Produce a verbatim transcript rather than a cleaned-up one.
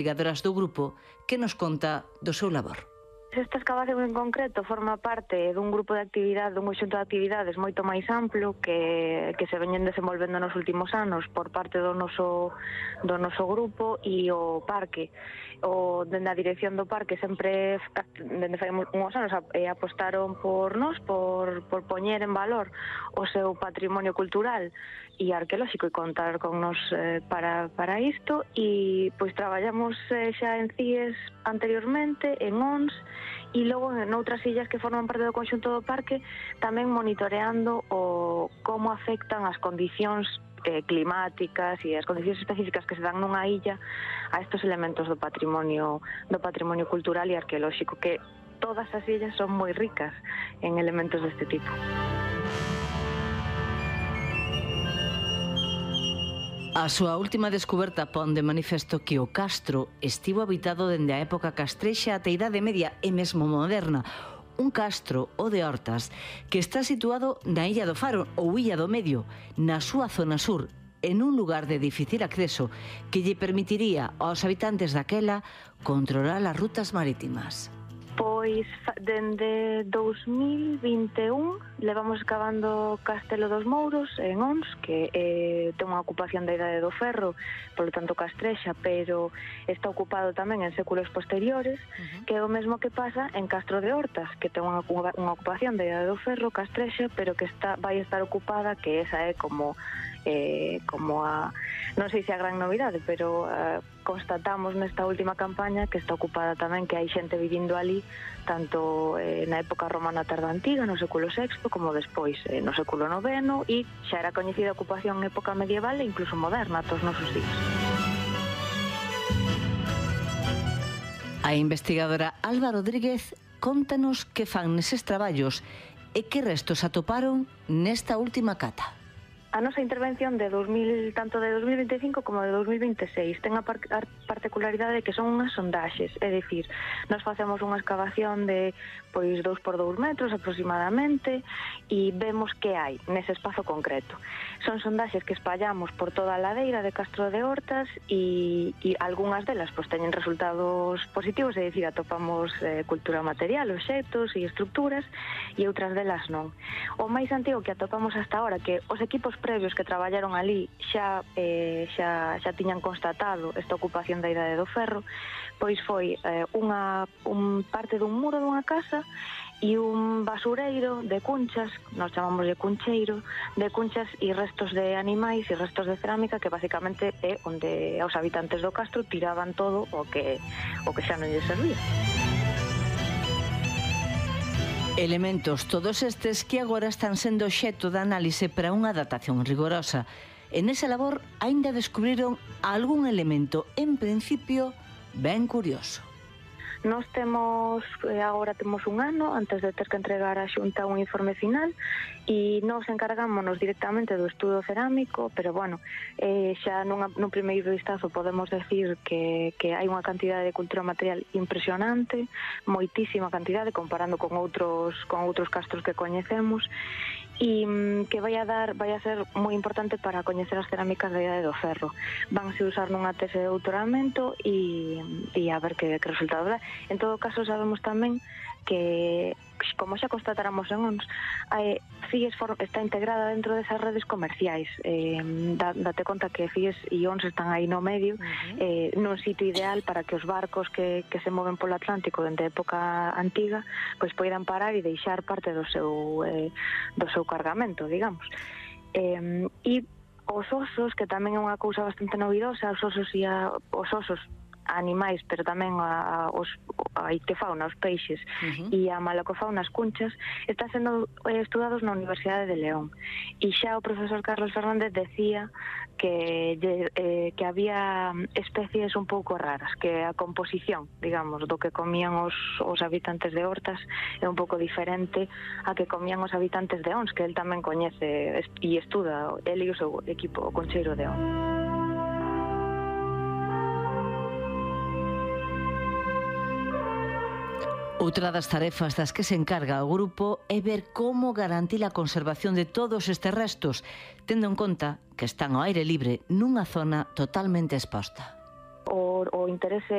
investigadoras do grupo que nos conta do seu labor. Esta excavación en concreto forma parte dun grupo de actividade, dun conxunto de actividades moito máis amplo que, que se veñen desenvolvendo nos últimos anos por parte do noso, do noso grupo e o parque. O, dende a dirección do parque sempre, dende fai uns anos, apostaron por nós, por, por poñer en valor o seu patrimonio cultural e arqueolóxico e contar con nos eh, para, para isto, e pois traballamos eh, xa en C I E S anteriormente, en O N S, e logo en outras illas que forman parte do conxunto do parque, tamén monitoreando o como afectan as condicións eh, climáticas e as condicións específicas que se dan nunha illa a estos elementos do patrimonio do patrimonio cultural e arqueolóxico, que todas as illas son moi ricas en elementos deste tipo. A súa última descoberta pon de manifesto que o castro estivo habitado dende a época castrexa ata a Idade Media e mesmo moderna. Un castro, o de Hortas, que está situado na Illa do Faro ou Illa do Medio, na súa zona sur, en un lugar de difícil acceso que lle permitiría aos habitantes daquela controlar as rutas marítimas. Pois, dende dous mil vinte e un levamos excavando Castelo dos Mouros en Ons, que eh, ten unha ocupación da Idade do Ferro, polo tanto castrexa, pero está ocupado tamén en séculos posteriores, uh-huh. que é o mesmo que pasa en Castro de Hortas, que ten unha, unha ocupación da Idade do Ferro, castrexa, pero que está, vai estar ocupada, que esa é como eh, como a, non sei se a gran novidade, pero eh, constatamos nesta última campaña que está ocupada tamén, que hai xente vivindo ali tanto eh, na época romana tarda antiga, no século sexto, como despois eh, no século noveno, e xa era coñecida a ocupación en época medieval e incluso moderna atos nosos días. A investigadora Alba Rodríguez contanos que fan neses traballos e que restos atoparon nesta última cata. A nosa intervención de dos mil, tanto de dos mil vinte e cinco como de dos mil vinte e seis ten a, par, a particularidade de que son unhas sondaxes, é dicir, nós facemos unha excavación de pois dous por dous metros aproximadamente e vemos que hai nese espazo concreto. Son sondaxes que espallamos por toda a ladeira de Castro de Hortas e, e algunhas delas pois teñen resultados positivos, é dicir, atopamos eh, cultura material, obxectos e estructuras, e outras delas non. O máis antigo que atopamos hasta ahora, que os equipos previos que traballaron ali xa, eh, xa, xa tiñan constatado esta ocupación da Idade do Ferro, pois foi eh, unha un parte dun muro dunha casa e un basureiro de cunchas, nós chamamos de cuncheiro, de cunchas e restos de animais e restos de cerámica, que basicamente é onde os habitantes do castro tiraban todo o que, o que xa non lles servía. Elementos todos estes que agora están sendo obxecto de análise para unha datación rigorosa. En esa labor aínda descubriron algún elemento, en principio, ben curioso. Nós temos, agora temos un ano antes de ter que entregar a Xunta un informe final e nós encargámonos directamente do estudo cerámico, pero bueno, eh, xa nunha, nun primeiro vistazo podemos decir que, que hai unha cantidade de cultura material impresionante, moitísima cantidade comparando con outros, con outros castros que coñecemos, e que vai a dar, vai a ser moi importante para coñecer as cerámicas da Idade do Ferro. Vanse usar nunha tese de doutoramento e, e a ver que, que resultado dá. En todo caso, sabemos tamén que, como xa constatáramos en O N S, C I E S está integrada dentro desas redes comerciais. Eh, date conta que C I E S e O N S están aí no medio, uh-huh. eh, nun sitio ideal para que os barcos que, que se moven polo Atlántico dende a época antiga pois poidan parar e deixar parte do seu, eh, do seu cargamento, digamos. Eh, e os osos, que tamén é unha cousa bastante novidosa, os osos e a, os osos animais, pero tamén a, a, os, a ictefauna, os peixes, uh-huh. e a malacofauna, as cunchas, están sendo estudados na Universidade de León. E xa o profesor Carlos Fernández decía que, eh, que había especies un pouco raras, que a composición, digamos, do que comían os, os habitantes de Hortas é un pouco diferente a que comían os habitantes de Ons, que el tamén coñece e estuda, el e o seu equipo, o concheiro de Ons. Outra das tarefas das que se encarga o grupo é ver como garantir a conservación de todos estes restos, tendo en conta que están ao aire libre nunha zona totalmente exposta. o, o interese